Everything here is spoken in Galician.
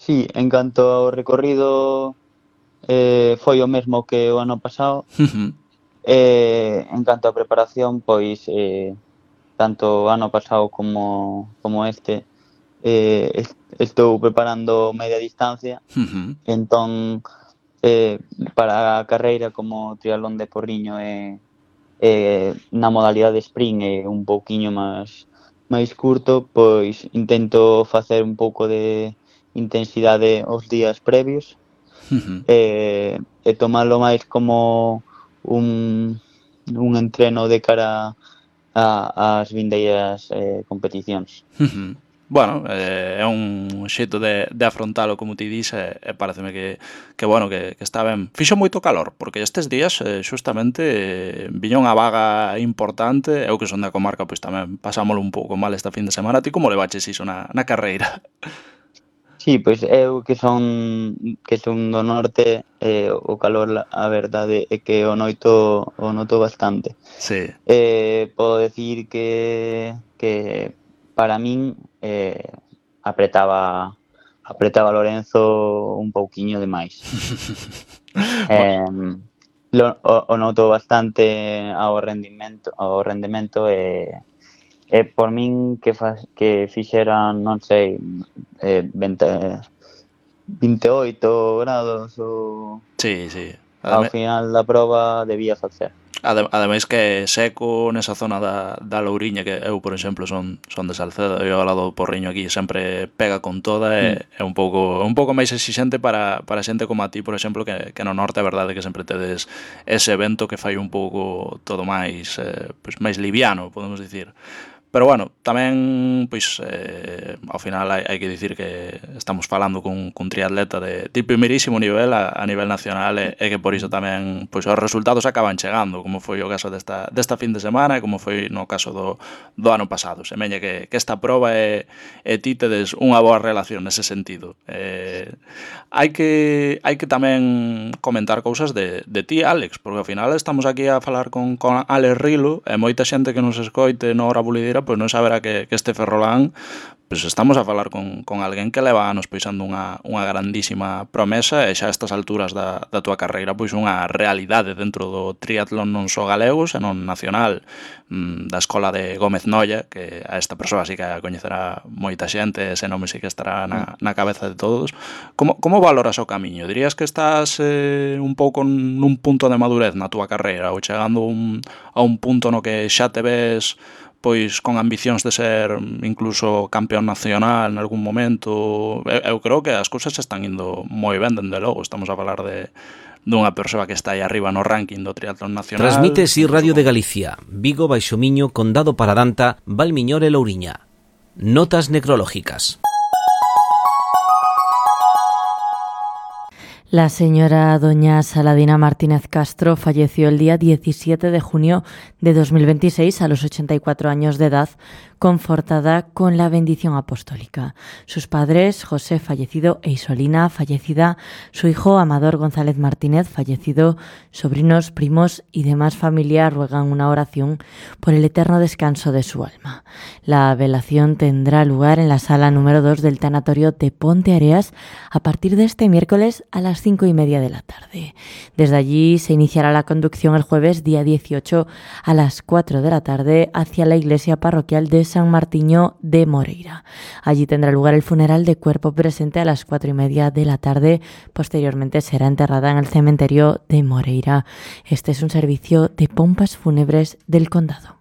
Sí, en canto ao recorrido, foi o mesmo que o ano pasado. En canto á preparación, pois, tanto o ano pasado como este, estou preparando media distancia. Entón, para a carreira como o triatlón de Porriño na modalidade sprint é un pouquiño máis curto, pois intento facer un pouco de intensidade os días previos, e tomalo máis como un entreno de cara ás vindeiras competicións. Bueno, é un xeito de afrontalo, como ti dis, e pareceme que bueno, que está ben. Fixo moito calor, porque estes días, xustamente, viña unha vaga importante, eu que son da comarca, pois tamén pasámolo un pouco mal esta fin de semana. Ti como levaches iso na carreira? Sí, pois eu que son do norte, o calor, a verdade é que o noto bastante. Sí. Podo decir que para min apretaba Lorenzo un pouquiño de máis. O noto bastante ao rendemento e por min que fixeran, non sei, 28 grados ou Sí. ao final da proba debía facer. Ademais que é seco nesa zona da Louriña, que eu, por exemplo, son de Salcedo, e ao lado do Porriño aquí sempre pega con toda, e é un pouco máis exixente para xente como a ti, por exemplo, que no norte é verdade que sempre tedes ese evento que fai un pouco todo máis pois máis liviano, podemos dicir. Pero bueno, tamén, pois, ao final hai que dicir que estamos falando cun triatleta de primeirísimo nivel a nivel nacional, e que por iso tamén, pois, os resultados acaban chegando, como foi o caso desta fin de semana e como foi no caso do ano pasado. Semeña que esta proba e ti tedes unha boa relación nese sentido. Hai que tamén comentar cousas de ti, Álex, porque ao final estamos aquí a falar con Álex Rilo, e moita xente que nos escoite no Hora Bulideira pois non saberá que este Ferrolán, pois estamos a falar con alguén que leva anos poisando unha grandísima promesa, e xa a estas alturas da túa carreira pois unha realidade dentro do triatlón non só galego, senón nacional, da escola de Gómez Noia, que a esta persoa sí que a coñecerá moita xente, ese nome sí que estará na cabeza de todos. Como valoras o camiño? Dirías que estás un pouco nun punto de madurez na túa carreira, ou chegando a un punto no que xa te ves pois con ambicións de ser incluso campeón nacional en algún momento? Eu creo que as cousas están indo moi ben, dende logo. Estamos a falar dunha persoa que está aí arriba no ranking do triatlón nacional. Transmite SI Radio de Galicia, Vigo, Baixo Miño, Condado Paradanta, Valmiñor e Louriña. Notas necrológicas. La señora doña Saladina Martínez Castro falleció el día 17 de junio de 2026 a los 84 años de edad, confortada con la bendición apostólica. Sus padres, José, fallecido, e Isolina, fallecida, su hijo Amador González Martínez, fallecido, sobrinos, primos y demás familia ruegan una oración por el eterno descanso de su alma. La velación tendrá lugar en la sala número 2 del tanatorio de Ponte Areas a partir de este miércoles a las 5:30 de la tarde. Desde allí se iniciará la conducción el jueves día 18 a las 4 de la tarde hacia la iglesia parroquial de San Martiño de Moreira. Allí tendrá lugar el funeral de cuerpo presente a las 4:30 de la tarde. Posteriormente será enterrada en el cementerio de Moreira. Este es un servicio de pompas fúnebres del condado.